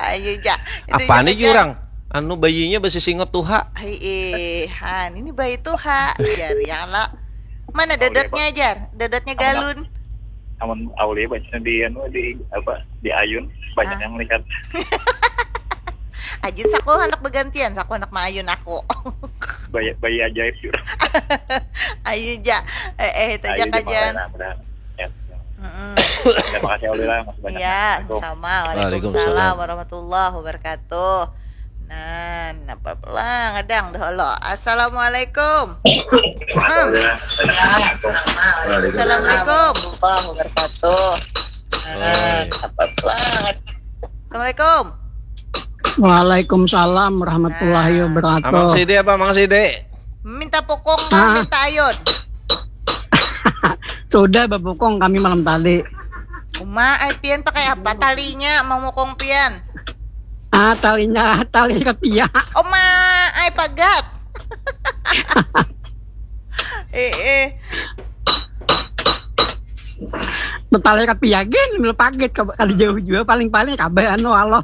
Ayo ja. Itu Apa ja nih kajian. Jurang? Anu bayinya besi singot tuha. Hai eh, han ini bayi tuha. Jar ya lo. Mana dodotnya jar? Dodotnya galun. Amun Aulia banyak di anu di apa di ayun banyak Ah. yang lihat. Ajin saku anak bergantian, saku anak maayun aku. Bayi bayi ajaib juga. Ayo ja. Eh, eh itu aja Ayo, kajian. Mudah-mudahan. Ya. Mm-mm. Terima kasih Aulia masih banyak. Ya, Assalamualaikum. sama. Waalaikumsalam Waalaikumsalam. Warahmatullahi wabarakatuh. Nah, napa pelang ngadang dah lo. Assalamualaikum. Hmm. Assalamualaikum. Warahmatullahi wabarakatuh. Oi. Apa pelang? Assalamualaikum. Waalaikumsalam warahmatullahi Nah. wabarakatuh. Amang Sidi apa Amang Sidi? Minta pukung kah, Ah. minta ayun. Sudah bapukung kami malam tadi. Uma, ai pian pakai apa talinya mau mukung pian? Ah, talinya tali kepia. Uma, ai pagat. Eh, eh. Tetalir kapiagen mil paget kada jauh jua, paling-paling kabeh anu Allah.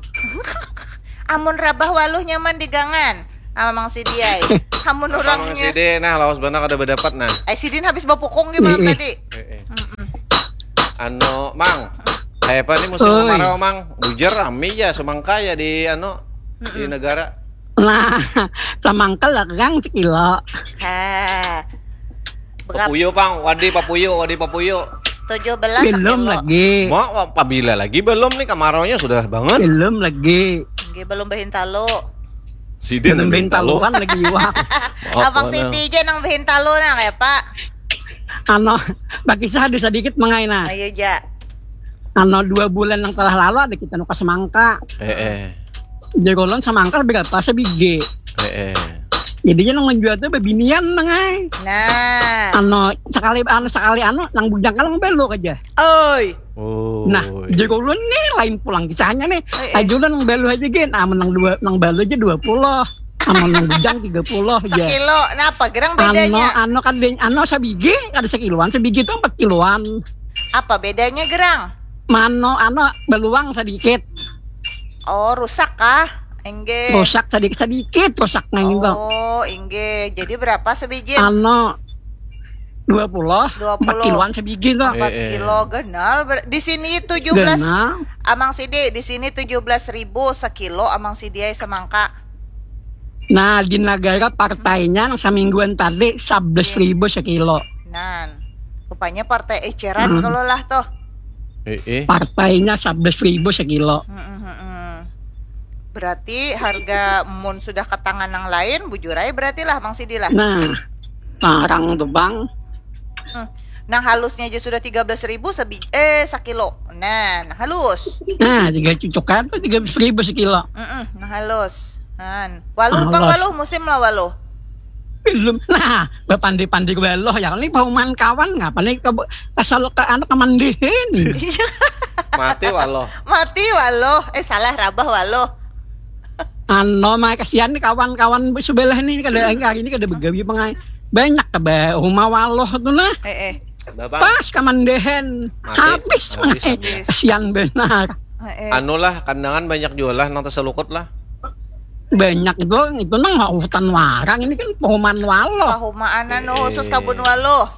Amun rabah waluh nyaman digangan. Amang Sidi ai. Amun urangnya. Sidi nah lawas banar kada badapat nah. Ai sidin habis bapukung gimana tadi. Anu mang, kayak apa nih musim kemarau mang? Bujar rame ya semangka ya di anu di negara. Nah, samangka lekang sekilo. Ha. Papuyu pang, wadi papuyu, wadi papuyu. Tujuh belas belum lagi. Mau pabila lagi belum nih kemaraunya sudah banget. Belum lagi. Oke, belum behintalu. Sidin belum behintaluan lagi wah. Abang Siti aja nang behintalu nah kayak apa? Ano, bagi saya ada sedikit mengaina. Ayo ja. Ano dua bulan yang telah lalu ada kita nuka semangka. Eh eh. Jadi ulun semangka berapa sebiji. Eh eh. Jadinya nang menjual tuh bebinian nang ai. Nah. Ano sekali ano sekali ano nang bujang kalau ngebelok aja. Oi. Oh. Nah, jadi ulun nih lain pulang kisahnya nih. Eh, eh. Aja ulun nang belu aja gin. Ah, menang dua nang belu aja dua puluh. Amun nang bujang tiga puluh aja. Sekilo, napa gerang bedanya? Ano, ano kan ano sabigi, kada sekiloan, sabigi itu empat kiloan. Apa bedanya gerang? Mano, ano beluang sedikit. Oh, rusak kah? Enggak. Rusak sedikit sedikit rusaknya gitu. Oh, enggak. Jadi berapa sebiji? Ano dua puluh, dua puluh. Empat kiloan sebiji tuh. Empat eh, eh. Kilo genal. Di sini tujuh belas. Genal. Amang Sidi, di sini tujuh belas ribu sekilo Amang Sidi semangka. Nah, di negara partainya yang semingguan tadi sebelas ribu sekilo. Nan, rupanya partai eceran hmm. Kalau lah tuh. Eh, eh. Partainya sebelas ribu sekilo. Hmm, hmm, hmm. Berarti harga mun sudah ke tangan yang lain, bujurai berarti lah Mang Sidi lah. Nah, tarang tuh bang. Hmm. Nang halusnya aja sudah tiga belas ribu sebi eh sakilo. Nah, nang halus. Nah, tiga cucukan tuh tiga belas ribu sekilo. Mm -mm, nang halus. Han. Waluh pang waluh musim lah waluh. Belum. Nah, bapandi-pandi waluh ya. Ini pahuman kawan ngapa nih ke asal ke anak kemandihin. Mati waluh. Mati waluh. Eh salah rabah waluh. Ano mah kasihan nih kawan-kawan sebelah nih kada hari ini kada begawi pengai. Banyak ke rumah waluh tuh nah. Eh eh. Pas kamandehan habis, habis, habis. Sian benar. Eh, eh. Anu lah kandangan banyak jual lah nang terselukut lah. Banyak itu itu nang hutan warang ini kan pahuman waluh. Pahumaan anu eh, khusus kabun waluh.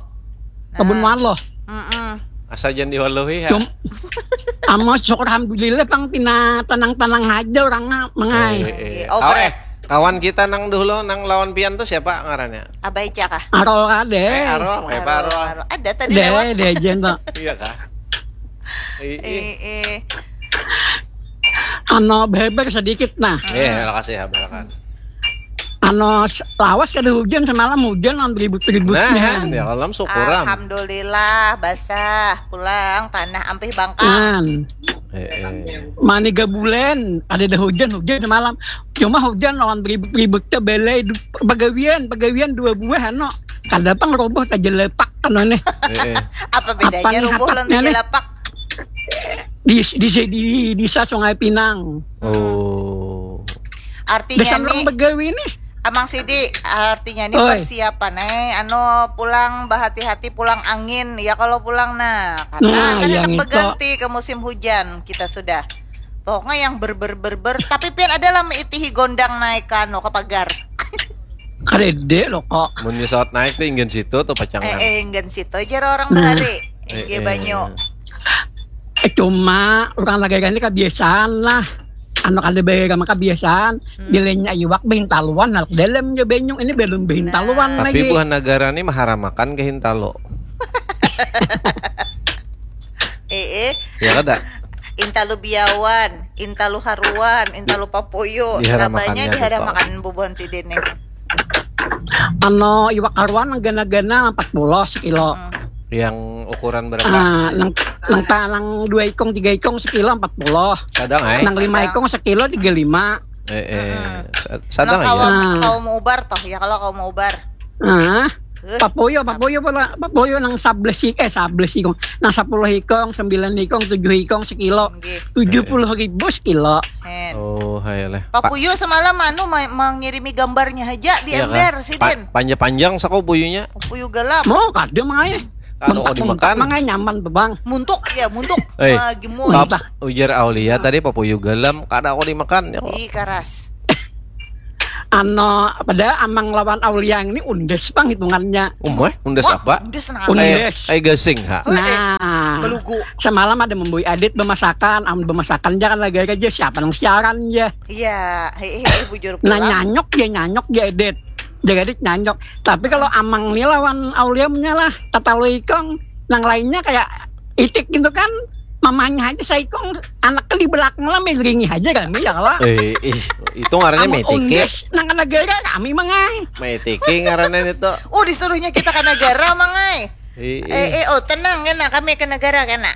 Nah. Kabun waluh. Mm -mm. Asa jangan diwaluhi ha. Cum Amos syukur alhamdulillah pang pina tenang-tenang aja orang mengai. Eh, eh. Oh, oh, eh. Kawan kita nang dulu nang lawan pian tuh siapa ngarannya? Abah Ica kah? Arol kade. Eh, Arol, eh, Arol. Arol. Ada tadi Deh, lewat. Deh, jen tuh. Iya kah? Eh, eh. Ano beber sedikit nah. Iya, terima kasih ya, berakan. Ano lawas kada hujan semalam hujan lawan ribut-ributnya. Nah, ya kalau syukuran. Alhamdulillah basah pulang tanah ampih bangkal. Nah. Eh, eh. Maniga bulan ada dah hujan hujan semalam. Cuma hujan lawan ribut-ribut teh belai pagawian pagawian dua buah ano. Kada pang roboh tajelepak ano nih. Eh, eh. Apa bedanya roboh lawan tajelepak? Di, di, di, di desa Sungai Pinang. Oh. Artinya nih. Desa orang begawi nih. Amang Sidi, artinya ini Oi. Persiapan eh anu pulang berhati-hati pulang angin ya kalau pulang nah karena nah, kan yang itu. Berganti ke musim hujan kita sudah pokoknya yang berber berber tapi pian ada lah itihi gondang naik kanu ke pagar. Karede lo kok. Mun nyesot naik tuh ingin situ tuh pacangan. Eh, eh ingin situ aja orang nah. Berhari. Ingin eh, eh. Banyu. Eh, cuma orang lagi ini kebiasaan lah. Anu kada bayar sama kebiasaan hmm. Bilanya iwak behintaluan halak dalam je benyung ini belum behintaluan nah. Lagi. Tapi buah negara ini maharamakan ke hintalo. Eh, eh. Ya kada? Intalu biawan, intalu haruan, intalu papuyu. Serabanya diharamakan bubuhan sidin nih. Ano iwak haruan gana-gana empat puluh sekilo. Hmm. Yang ukuran berapa? Ah, nang nang ta, nang dua ikong tiga ikong sekilo empat puluh. Sadang ay. Nang lima ikong sekilo tiga lima. Eh, eh. Hmm. Sadang ay. Kalau mau ubar toh ya kalau kalau mau ubar. Ah. Papuyu, papuyu pula, papuyu nang sabelas ik-, eh, sabelas ikung, nang sapuluh ikung, sembilan ikung, tujuh ikung sekilo, Nggih. tujuh puluh ribu sekilo. Hen. Oh, hai leh. Papuyu semalam anu ma- mengirimi gambarnya aja di Iya, ember kan? sidin. Pa- panjang-panjang sako puyunya. Papuyu galam. Mau kada mangai. Kada kok dimakan. Mangai nyaman bebang. Muntuk ya, muntuk. Eh, Wah, gemoy. Pap, ujar Aulia tadi papuyu galam kada aku dimakan ya kok. Ih, karas. Ano, pada Amang lawan Aulia ini undes pang hitungannya. Umai, undes Wah, apa? Undes nang Undes. apa? Kayak kayak gasing ha. Oh, eh, Nah, belugu. Semalam ada membui adit bemasakan, am bemasakan aja kan lagi aja siapa nang siaran ya. Iya, hei, hei, hei, bujur Nah pulang. nyanyok ya nyanyok ya edit. Jagadit nyanyok. Tapi kalau Amang nih lawan Aulia punya lah tatalu ikong, nang lainnya kayak itik gitu kan. Mamanya aja saikong, anak di belakang lah melingi aja kami ya lah. Eh, ih, itu ngarannya Amun metiki. Undes nang kena gara kami mangai. Metiki ngarannya itu. Oh, disuruhnya kita ke negara, mangai. Eh, Eh, eh, oh, tenang kena, kami ke negara kena.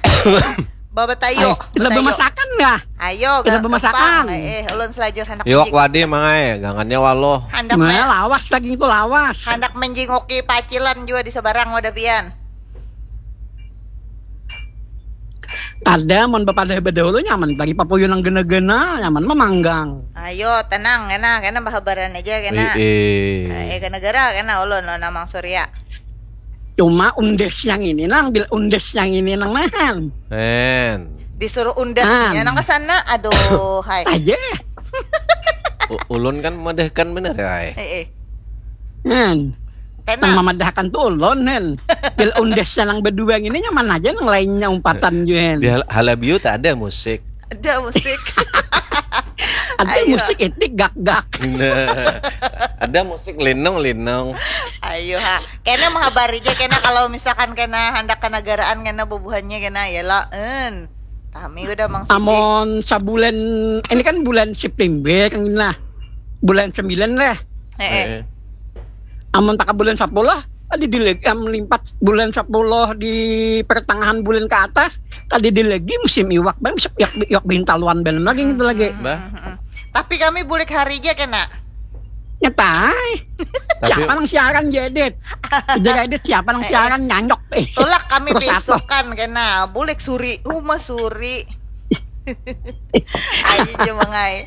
Bawa tayo, Kita bemasakan ya. Ayo, Kita ga- bemasakan. gampang. Eh, eh, ulun selajur hendak Iwak menjing- wadi mangai, gangannya waloh. hendak Nah, me- lawas lagi itu lawas. hendak menjingoki pacilan juga di seberang wadah pian. Ada mun bepadah bedahulu nyaman bagi papuyu nang gena-gena nyaman memanggang. Ayo, tenang kena, kena bahabaran aja kena. Eh, eh. Eh, ke negara kena ulun, ulun Amang Surya. Cuma undes yang ini nang bil undes yang ini nang nahan. Men. Disuruh undasnya Ah. nang ke sana. Aduh, hai. Aja. U- ulun kan madahkan bener ya. Ai. Eh, eh. Hen. Nang Tenang. memadahkan tuh ulun hen. Bil undesnya nang berdua ini nyaman aja nang lainnya umpatan juga hen. Di hal- Halabiu tak ada musik. Ada musik. Ada Ayo. Musik itik gak-gak. Nah, ada musik linung-linung. Ayo ha. Kena menghabari aja kena kalau misalkan kena hendak kenegaraan kena bubuhannya kena ya lah. En. Kami udah mang Siti. Amon sabulan ini kan bulan September kan lah. Bulan sembilan lah. Eh, eh. Eh, Amun taka bulan sepuluh, tadi di leg- am, limpat bulan sepuluh di pertengahan bulan ke atas, tadi di lagi musim iwak bang, iwak, iwak bintaluan belum lagi gitu lagi. Bah. Mm-mm. Tapi kami bulik hari aja kena. Nyetai. Tapi- Siapa nang siaran jedit? Ujar edit siapa nang siaran nyanyok eh. Tulak kami Terus apa? Besokan kena. Bulik suri. Uma suri. Ayo aja mangai.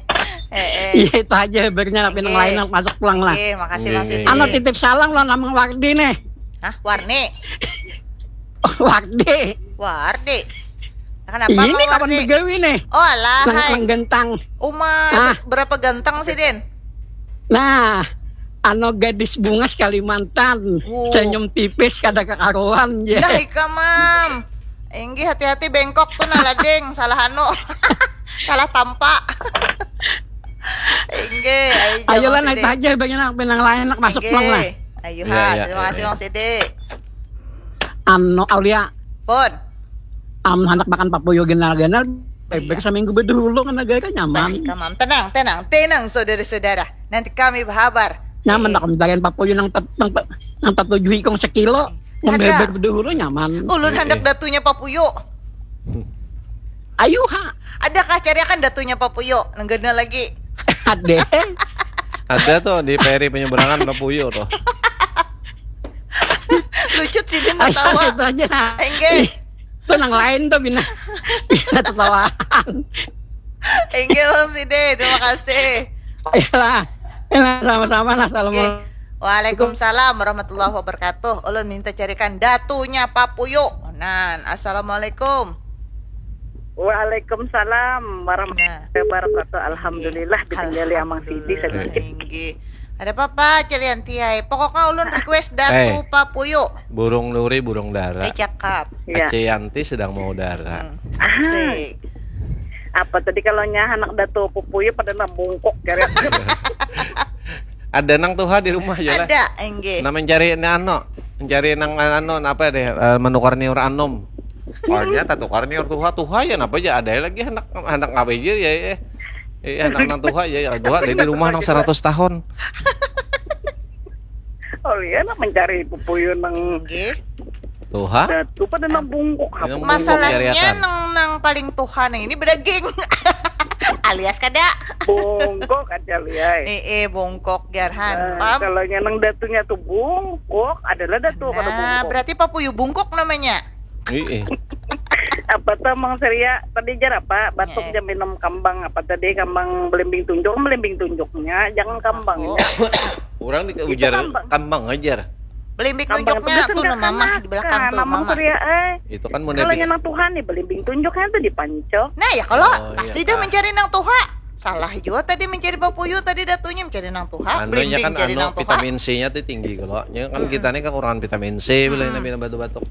Eh, eh. Iya itu aja bernya tapi nang Oke. Lain nang masuk pulang lah. Oke, makasih Iya, Mang iya, Siti. iya. Ano titip salam lah nama Wardi nih. Hah, Warni? Wardi. Wardi. Kenapa Ini Mang kawan Wardi? Begawi nih. Oh alah, Nang, hai. Nang gentang. Uma, Ah. berapa ganteng sih, Din? Nah, ano gadis bungas Kalimantan, Wuh. Senyum tipis kada kakaruan ya. Nah, ikam, Mam. Inggih, hati-hati bengkok tuh nah lading, salah anu. Salah tampa. Inggih, ayo Ayolah Mang naik Siti. Aja bagi nak penang lain nak masuk Inggih. pulang lah. Ayo Iya, ha, iya, terima kasih iya. Mang Siti. Ano Aulia, Pun. am hendak makan papuyu ganal-ganal, Iya. Bebek seminggu bedulu kan negara nyaman. Baik, Mam. Tenang, tenang, tenang saudara-saudara. Nanti kami berhabar. Nyaman Eh, nak mencarian papuyu nang tet- nang pe- nang tatuju ikong sekilo. Kada. Membebek bedulu nyaman. Ulun Eh, hendak eh. Datunya Papuyo. Ayo ha. Adakah cariakan Datunya Papuyo? Nang gana lagi. Ada. Ada tuh di P R I penyeberangan Papuyo tuh. Lucut sih dia Ayo tawa. Itu aja. Enggak. Itu nang lain tuh bina bina tertawaan. Enggak Bang Side, terima kasih. Ayolah. Ayolah, sama-sama lah. Oke. Assalamualaikum. Waalaikumsalam warahmatullahi wabarakatuh. Ulun minta carikan Datunya Papuyo. Nan, assalamualaikum. Waalaikumsalam warahmatullahi wabarakatuh. Alhamdulillah ditinggali Amang Sidi Alhamdulillah, sedikit. Inggih. Ada apa-apa carian tiai. Pokoknya ulun request Datu Eh. Papuyo. Burung nuri, burung dara. Eh cakap. Ya. Ace Yanti sedang mau dara. Hmm, asik. Apa tadi kalau nyahan anak Datu Papuyo pada nang bungkuk kira. Ada nang tuha di rumah ya lah. Ada, enggak. Nah mencari ini ano, mencari nang ano apa deh eh, menukar niur anom. Soalnya tak tukar niur tuha tuha ya napa aja ada lagi anak anak ngapain aja ya ya. Eh, anak nang tuha ya, ya tuha ada di rumah nang seratus tahun. Oh iya nak mencari Papuyo nang Enggak. Tuha. Datu pada nang bungkuk. Nang Apa? bungkuk. Masalahnya Cariakan. nang nang paling tuha nang ini bedaging. Lias kada? Bungkuk aja liai. Eh, eh bungkuk jarhan. Nah, kalau nang datunya tuh bungkuk, adalah datu kada bungkuk. Nah, berarti papuyu bungkuk namanya. Iya. Apa tuh Mang Seria tadi jar apa? Batuk eh. Jam minum kambang apa tadi? Kambang belimbing tunjuk, belimbing tunjuknya, jangan kambangnya. Orang di ujar kambang ajar. Belimbing tunjuknya tuh nah mamah di belakang tuh mamah. Seria, eh. Itu kan mau kalau nang tuhan nih belimbing tunjuknya tuh dipancok. Nah ya kalau oh, pasti iya, dah mencari nang tuha. Salah juga tadi mencari papuyu tadi datunya mencari nang tuha. Anu ya kan anu vitamin C-nya tuh tinggi kalau. Ya kan hmm. Kita nih kekurangan vitamin C bila hmm. Ini batuk-batuk.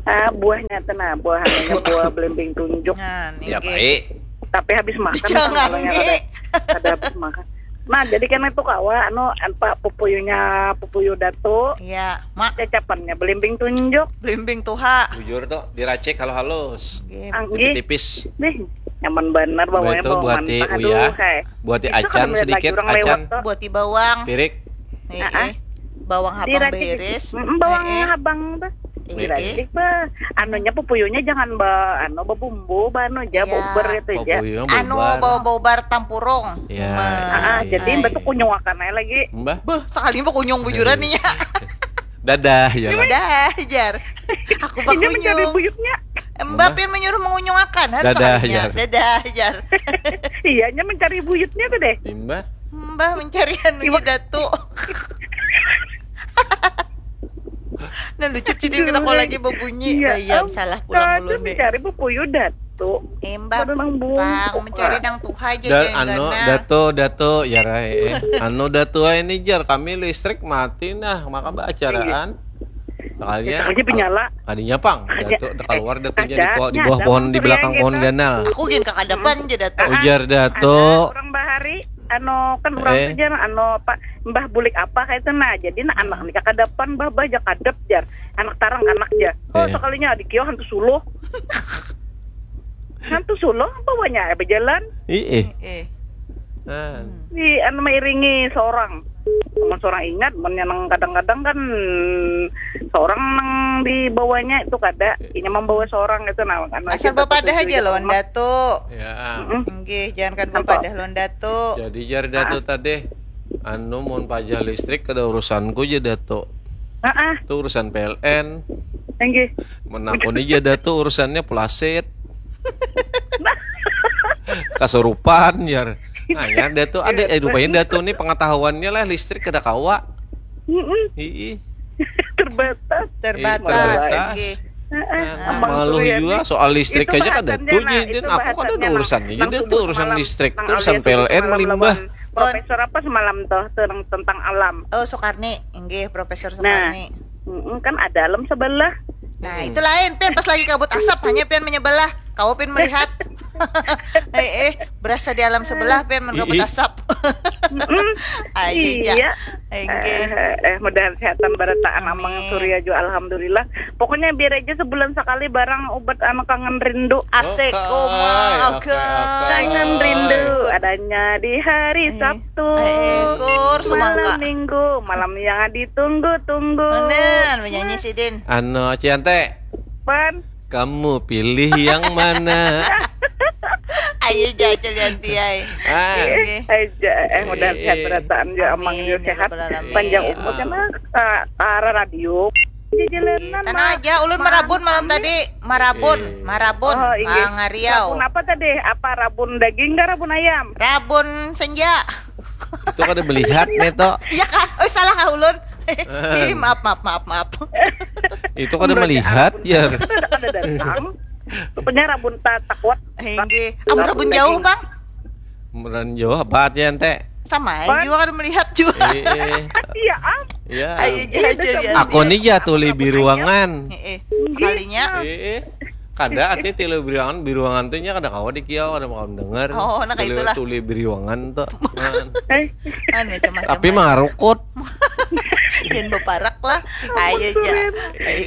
Ah, buahnya tuh nah, buah buah belimbing tunjuk. Nah, ya baik. Tapi habis makan jangan nih. Ada, ada habis makan. Nah, jadi kan itu kawa anu apa pupuyunya pupuyu datu. Iya, mak. Cacapannya belimbing tunjuk. Belimbing tuha. Bujur tuh, diracik kalau halus. Tipis-tipis. Nih, nyaman benar bawangnya itu bawang buati mentah. Uya. Aduh, buati acan sedikit, acan. Buati bawang. Pirik. Heeh. Bawang habang beres. Mm, bawang habang tuh. Diracik bah. Anunya pupuyunya jangan ba anu babumbu, ba anu aja iya. Bober itu aja. Anu bau-bau bar tampurung. Iya. Ah, iya, jadi iya. Mbak tuh kunyung akan aja lagi. Mbak. Beh, sekali mbak kunyung bujuran nih ya. Dadah ya. Dadah jar. Aku bak kunyung. Buyutnya. Mbak pian menyuruh mengunyung akan harus dadah, sekalinya. Jar. Dadah jar. Iya, nya mencari buyutnya tuh deh. Mbak. Mbak mencari anu datu. Nah lucu cidin kena kau lagi berbunyi iya, bayam salah pulang dulu nih. Mencari buku Yudat tuh. Embak pang mencari nang tuha aja dan anu dato dato ya rai eh. Anu dato ini jar kami listrik mati nah maka acaraan sekalinya aja penyala tadinya pang dato keluar datonya di, di bawah pohon di belakang pohon ganal aku gin kakadapan aja dato ujar dato orang bahari anu kan urang eh. Tu jar anu apa mbah bulik apa kayak itu nah jadi nah anak ni kakadapan bah bah ja kadap jar anak tarang anak ja oh eh. Sekalinya adik yo hantu suluh hantu suluh apa banyak ya berjalan ih eh. Eh. Ah. Di anu mairingi seorang sama seorang ingat menyenang kadang-kadang kan seorang nang di bawahnya itu kada inya membawa seorang itu nah anu asal bapadah aja lawan datu ya. Mm -mm. Nggih, jangan kan bapadah lawan datu jadi jar datu ah. Tadi anu mau pajah listrik kada urusanku aja datu ah, ah. Itu urusan P L N Nggih. Menakuni aja datu urusannya pelasit kasurupan jar nah ya datu ada eh, rupanya datu nih pengetahuannya lah listrik kada kawa Mm-mm. Ii. Terbatas. Terbatas. Terbatas. Oke. Nah, malu juga soal listrik aja kan ada tuh nah, dan aku kan ada urusan ini dia tuh urusan listrik tuh urusan P L N melimbah. Profesor apa semalam tuh tentang alam? Oh Soekarni, enggih Profesor Soekarni. Nah, kan ada alam sebelah. Nah, hmm. Itu lain pian pas lagi kabut asap hanya pian menyebelah, kau pian melihat. eh eh berasa di alam sebelah pian mendapat asap ayo iya. Eh, eh, eh, mudahan sehatan barataan amang surya juga alhamdulillah pokoknya biar aja sebulan sekali barang obat anu kangen rindu asik oh, uma oke kangen rindu adanya di hari eh. Sabtu eh, eh, kur, malam minggu malam yang ditunggu-tunggu Bener, menyanyi sidin anu ciante pan Kamu pilih yang mana? Ayo jajal ganti ay. Ah. Aja eh mudah sehat berataan ya amang ya sehat panjang umur karena uh, eh, arah radio. Tanah aja ulun marabun malam tadi marabun marabun oh, iya. Ngariau. Rabun apa tadi? Apa rabun daging kah rabun ayam? Rabun senja. Itu kada melihat neto. Iya kan? Oh salah kah ulun. Ih, maaf maaf maaf maaf. Itu kada melihat ya. Kada datang. Pokoknya rabun tak takut. Hinggi. Amun rabun jauh bang. Meran jauh apa aja ente? Sama ya juga kada melihat juga. Iya. Iya. Ayo jajan. Aku nih jatuh di ruangan. Sekalinya. Kada ati tilu biruangan biruangan tuh nya kada kawa di kiau kada mau dengar. Oh, nah kayak itulah. Tuli biruangan tuh. Eh. Kan macam-macam. Tapi mangarukut. Jangan beparak lah. Ayo aja.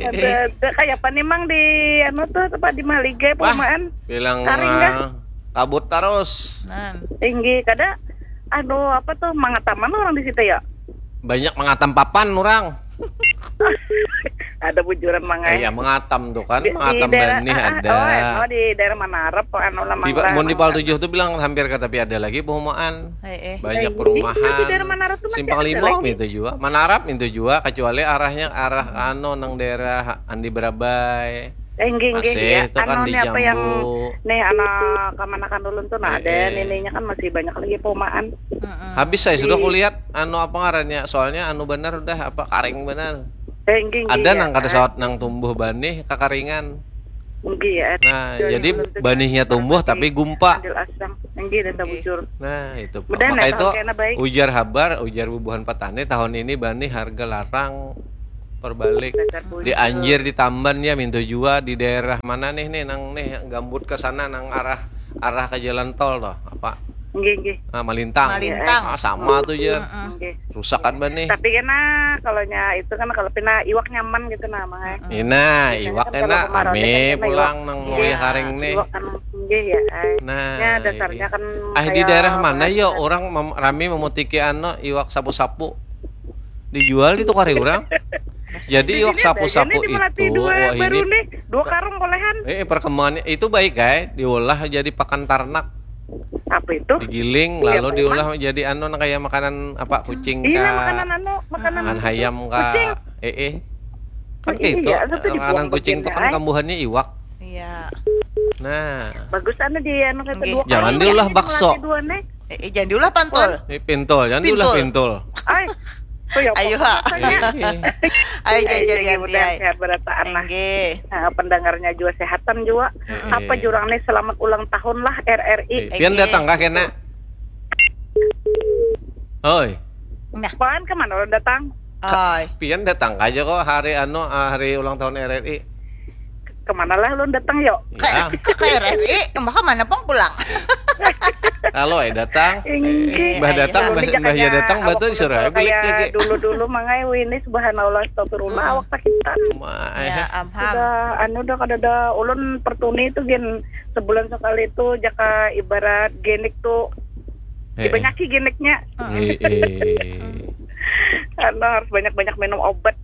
Ada ada kayak apa nih mang di anu tuh tempat di Mahligai perumahan. Bilang kabut terus. Nah. Tinggi kada anu apa tuh mangataman orang di situ ya? Banyak mangatam papan orang. Ada bujuran mangai. Eh, ya, mengatam tuh kan, Di, di mengatam daerah, banih ah, ah, ada. Oh, anu, di daerah Manarap, anu lah, di, Mangga, mun di Pal Tujuh tuh bilang hampir kata tapi ada lagi perumahan. Eh, eh. Banyak perumahan. Di, di daerah Manarap tuh masih Simpang ada Lima lagi. Itu juga. Manarap itu juga, kecuali arahnya arah anu nang daerah Andi Berabai. Eh, nggih, nggih, Asih, ya. Itu kan anu, di nih, apa yang, Jambu. Nih, anak kamanakan ulun tuh, nah, eh, ada eh. Nininya kan masih banyak lagi perumahan. Habis saya sudah kulihat anu apa ngarannya, soalnya anu benar udah apa karing benar. Eh, nggih, nggih, ada ya. Nang kada sawat nang tumbuh banih kakaringan. Nggih, ya. Nah, jadi banihnya tumbuh tapi gumpa. Adil asang. Nggih, dan bujur. Nah, itu. Mudah maka itu ujar habar, ujar bubuhan petani tahun ini banih harga larang perbalik. Di Anjir, di Tamban ya, mintu jua di daerah mana nih, nih nang nih gambut ke sana nang arah arah ke jalan tol toh, apa? Nggih, nggih. Ah, Malintang. Malintang. Ah, sama tuh ya. Nggih. Rusak kan banih. Tapi kena kalau nya itu kan kalau pina iwak nyaman gitu nah, Mang, eh. Ina, biasanya iwak kan kalau enak, kemarau rame kan kena pulang iwak. Nang mau ya karing nih. Iwak kan nggih ya, eh. Nah, nya dasarnya kan ah, di daerah mana ya orang mem, rame memutiki anu iwak sapu-sapu? Dijual itu kari orang. Jadi iwak sapu-sapu itu, wah ini dua karung kolehan. Eh, perkembangannya itu baik, guys. Diolah jadi pakan ternak. Apa itu? Digiling, iya, lalu diolah jadi anu, kayak makanan apa, kucing kah? Iya, makanan anu, makanan hayam kah? Eh, eh. Kan kayak itu, makanan kucing itu kan kambuhannya iwak. Iya. Nah. Bagus anu di anu kata dua. Jangan diolah bakso. Eh, eh, jangan diulah pantol. Eh, pintol, jangan diulah pintol. Ay, oh ya, ayo, ha. Ayo, jajal ganti, ay. Sehat berataan lah. Nggih. Nah, pendengarnya juga sehatan juga. Apa jurang nih, selamat ulang tahun lah R R I. Eh, pian datang kah kena? Oi. Nah. Pan kemana lo datang? Oi. Pian datang aja kok hari anu, ah, hari ulang tahun R R I. Kemana lah lo datang yo? Ke, ke, ke R R I, maka mana pun pulang. Kalau eh datang, mbah datang, mbah ya datang, mbah tuh disuruh balik lagi. Dulu-dulu mangai wini, subhanallah, astagfirullah, awak sakit. Ya, amham. Sudah anu dah, kada ada ulun pertuni itu gin sebulan sekali itu jaka ibarat genik tuh. Dibanyaki geniknya. Anu harus banyak-banyak minum obat.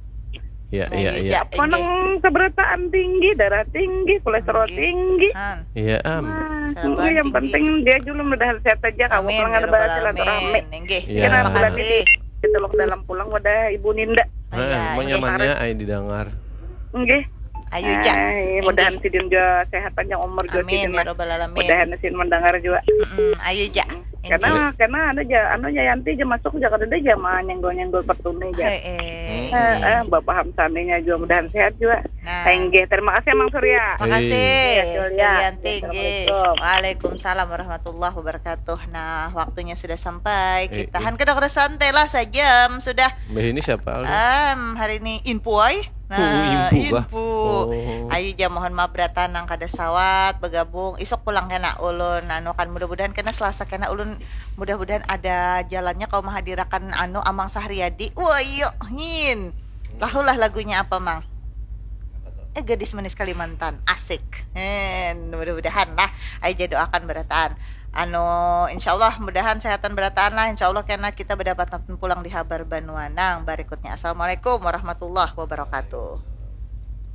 Iya, iya, iya. Apa nang seberataan tinggi, darah tinggi, kolesterol tinggi. Iya, am. Nah, yang penting dia juga mudahan sehat saja, kamu pulang ada bahas silaturahmi. Terima kasih. Kita dalam pulang wadah Ibu Ninda. Nyamannya ai didengar. Nggih. Ayu ja. Mudahan sidin jua sehat panjang umur jua sidin. Amin ya rabbal alamin. Mudahan sidin mendengar jua. Ayu ja. Karena karena anu ja, anu ja Yanti ja masuk ja kada ja manyenggol-nyenggol pertuni ja. Heeh. Heeh, Bapak Hamsaminya jua mudahan sehat jua. Nah. Inggih, terima kasih Mang Surya. Makasih. Yanti nggih. Waalaikumsalam warahmatullahi wabarakatuh. Nah, waktunya sudah sampai. Kita han kada kada santai lah, sajam sudah. Mbah ini siapa? Em, hari ini info ai. Nah, info. Ayu ja, mohon maaf berataan nang kada sawat bergabung. Isuk pulang kena ulun anu kan, mudah-mudahan kena Selasa kena ulun, mudah-mudahan ada jalannya kau menghadirakan anu Amang Sahriyadi. Wah, iyo, hin. Lahulah lagunya apa, Mang? Eh, Gadis Manis Kalimantan. Asik. Hin, mudah-mudahan lah. Ayu ja doakan berataan. Anu, insyaallah mudahan sehatan berataan lah. Insyaallah kena kita berdapatan pulang di habar banua nang berikutnya. Assalamualaikum warahmatullahi wabarakatuh.